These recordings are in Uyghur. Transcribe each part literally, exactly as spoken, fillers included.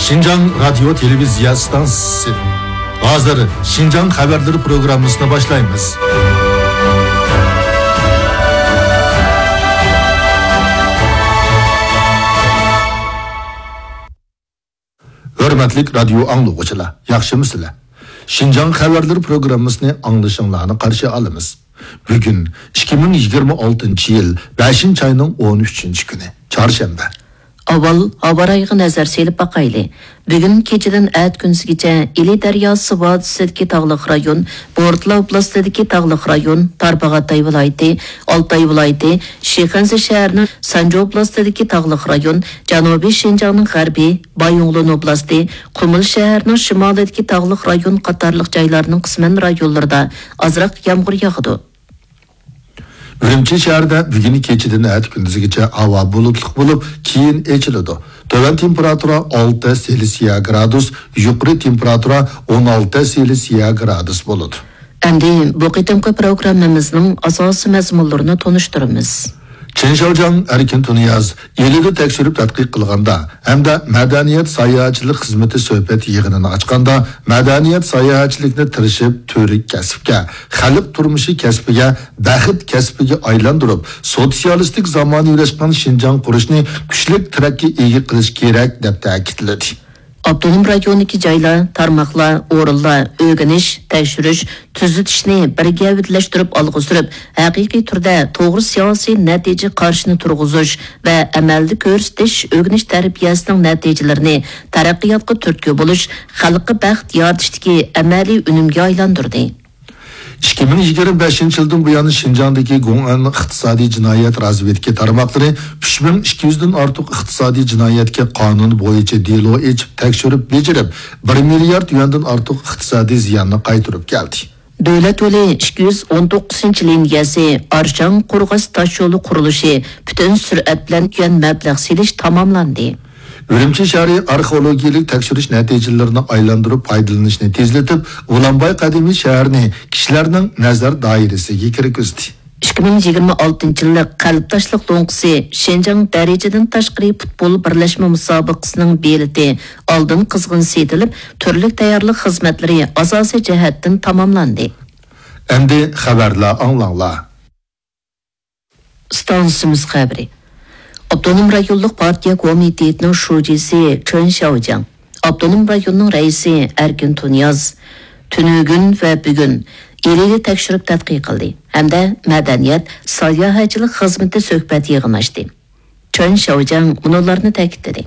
شىنجاڭ رادىيو تېلېۋىزىيە ئىستانسىسى. ھازىر شىنجاڭ خەۋەرلىرى پروگراممىسىنى باشلايمىز. ھۆرمەتلىك رادىيو ئاڭلىغۇچىلار، ياخشىمۇسىلەر؟ شىنجاڭ خەۋەرلىرى پروگراممىسىنى ئاڭلىشىڭلارنى قارشى ئالىمىز. بۈگۈن ئىككى مىڭ يىگىرمە ئالتىنچى يىل بەشىنچى ئاينىڭ ئون ئۈچىنچى كۈنى، چارشەنبە. ئاۋۋال ھاۋا رايىغا نەزەر سېلىپ باقايلى. بۈگۈن كېچىدىن ئەتە كۈندۈزگىچە ئىلى دەرياسى ۋادىسىدىكى تاغلىق رايون، بورتلا ئوبلاستىدىكى تاغلىق رايون، تارباغاتاي ۋىلايىتى، ئالتاي ۋىلايىتى، شىخەنزە شەھىرىنىڭ سانجى ئوبلاستىدىكى تاغلىق رايون، جەنۇبىي شىنجاڭنىڭ غەربى، بايىنغولىن ئوبلاستى، قۇمۇل شەھەرنىڭ شىمالىدىكى تاغلىق رايون قاتارلىق جايلارنىڭ قىسمەن رايونلىرىدا ئازراق يامغۇر ياغىدۇ. ئۈرۈمچى شەھىرىدە بۈگۈن كېچىدىن ئەتە كۈندۈزگىچە ھاۋا بۇلۇتلۇق بولۇپ، كېيىن ئېچىلىدۇ. تۆۋەن تېمپېراتۇرا ئالتە سېلسىيە گرادۇس، يۇقىرى تېمپېراتۇرا ئون ئالتە سېلسىيە گرادۇس بولىدۇ. ئەمدى بۇ قېتىمقى پروگراممىمىزنىڭ ئاساسىي مەزمۇنلىرىنى تونۇشتۇرىمىز. چېن شياۋجياڭ، ئەركىن تۇنىياز ئىلىدا تەكشۈرۈپ تەتقىق قىلغاندا ھەمدە مەدەنىيەت ساياھەتچىلىك خىزمىتى سۆھبەت يىغىنىنى ئاچقاندا، مەدەنىيەت ساياھەتچىلىكنى تىرىشىپ تۈۋرۈك كەسىپكە، خەلق تۇرمۇشى كەسپىگە، بەخت كەسپىگە ئايلاندۇرۇپ، سوتسىيالىستىك زامانىۋىلاشقان شىنجاڭ قۇرۇشنى كۈچلۈك تىرەككە ئىگە قىلىش كېرەك، دەپ تەكىتلىدى. ئاپتونوم رايوندىكى جايلار، تارماقلار، ئورۇنلار ئۆگىنىش، تەكشۈرۈش، تۈزىتىشنى بىر گەۋدىلەشتۈرۈپ ئالغا سۈرۈپ، ھەقىقىي تۈردە توغرا سىياسىي نەتىجە قارىشىنى تۇرغۇزۇش ۋە ئەمەلدە كۆرسىتىش، ئۆگىنىش تەربىيەسىنىڭ نەتىجىلىرىنى تەرەققىياتقا تۈرتكە بولۇش، خەلققە بەخت يارىتىشتىكى ئەمەلىي ئۈنۈمگە ئايلاندۇردى. ئىككى مىڭ يىگىرمە بەشىنچى يىلدىن بۇيان شىنجاڭدىكى گوڭئەن ئىقتىسادىي جىنايەت رازۋېدكا تارماقلىرى ئۈچ مىڭ ئىككى يۈزدىن ئارتۇق ئىقتىسادىي جىنايەتكە قانۇن بويىچە دېلو ئېچىپ تەكشۈرۈپ بېجىرىپ، بىر مىليارد يۈەندىن ئارتۇق ئىقتىسادىي زىياننى قايتۇرۇپ كەلدى. دۆلەت يولى ئىككى يۈز ئون توققۇزىنچى لىنىيەسى ئارشاڭ قورغاس تاشيولى قۇرۇلۇشى پۈتۈن سۈرئەت بىلەن يۈەن مەبلەغ سېلىش تاماملاندى. ئۈرۈمچى شەھىرى ئارخېئولوگىيەلىك تەكشۈرۈش نەتىجىلىرىنى ئايلاندۇرۇپ پايدىلىنىشنى تېزلىتىپ، ئۇلانباي قەدىمىي شەھىرىنى كىشىلەرنىڭ نەزەر دائىرىسىگە كىرگۈزدى. ئىككى مىڭ يىگىرمە ئالتىنچى يىللىق قەلب تاشلىق لوڭقىسى شىنجاڭ دەرىجىدىن تاشقىرى پۇتبول بىرلەشمە مۇسابىقىسىنىڭ بېلىتى ئالدىن قىزغىن سېتىلىپ، تۈرلۈك تەييارلىق خىزمەتلىرى ئاساسىي جەھەتتىن تاماملاندى. ئەمدى خەۋەرلەر ئاڭلاڭلار. ئىستانسىمىز خەۋىرى. ئاپتونوم رايونلۇق پارتىيە كومىتېتىنىڭ شۇجىسى چېن شياۋجياڭ، ئاپتونوم رايوننىڭ رەئىسى ئەركىن تۇنىياز تۈنۈگۈن ۋە بۈگۈن ئىلىدا تەكشۈرۈپ تەتقىق قىلدى ھەمدە مەدەنىيەت، ساياھەتچىلىك خىزمىتى سۆھبەت يىغىنى ئاچتى. چېن شياۋجياڭ مۇنۇلارنى تەكىتلىدى.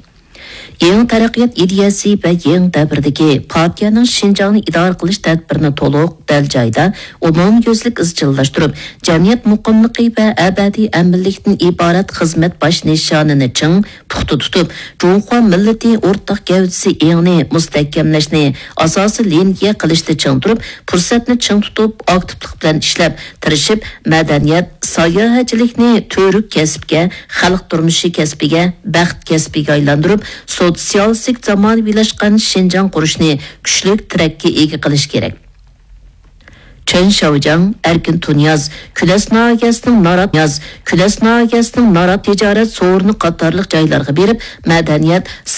يېڭى تەرەققىيات ئىدىيەسى ۋە يېڭى دەۋردىكى پارتىيەنىڭ شىنجاڭنى ئىدارە قىلىش تەدبىرىنى تولۇق، دەل جايىدا، ئومۇميۈزلۈك ئىزچىللاشتۇرۇپ، جەمئىيەت مۇقىملىقى ۋە ئەبەدىي ئەمىنلىكتىن ئىبارەت خىزمەت باش نىشانىنى چىڭ، پۇختا تۇتۇپ، جۇڭخۇا مىللىتى ئورتاق گەۋدىسى ئېڭىنى مۇستەھكەملەشنى ئاساسىي لىنىيە قىلىشتا چىڭ تۇرۇپ، پۇرسەتنى چىڭ تۇتۇپ، ئاكتىپلىق بىلەن ئىشلەپ، تىرىشىپ، مەدەنىيەت، ساياھەتچىلىكنى تۈۋرۈك كەسىپكە، خەلق تۇرمۇشى كەسپىگە، بەخت كەسپىگە ئايلاندۇرۇپ، سوتسىيالىستىك زامانىۋىلاشقان شىنجاڭ قۇرۇشنى كۈچلۈك تىرەككە ئىگە قىلىش كېرەك. چېن شياۋجياڭ، ئەركىن تۇنىياز، كۈلەس ناھىيەسىنىڭ نارات، كۈلەس ناھىيەسىنىڭ نارات تىجارەت سورۇنى قاتارلىق جايلارغا بېرىپ، مەدەنىيەت،